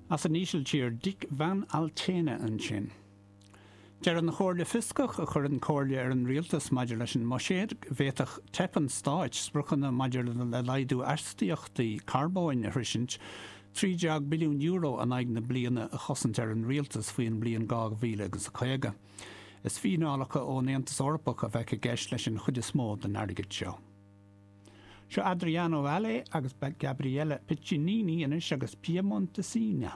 As an Ísiltír, Dick van Altena ansin. Deir an Chomhairle Fioscach, a chuireann comhairle ar an rialtas maidir leis an mbuiséad, go bhféadfadh teip an stáit spriocanna maidir le laghdú astaíochtaí carbóin a shroisint, €13 billiún in aghaidh na bliana a chosaint ar an rialtas faoin mbliain 2050. Is fíneálacha ón Aontas Eorpach a bheadh i gceist leis an chuid is mó den airgead seo. Seo Adriano Valle agus Gabriella Piccinini anois agus Piemontesina.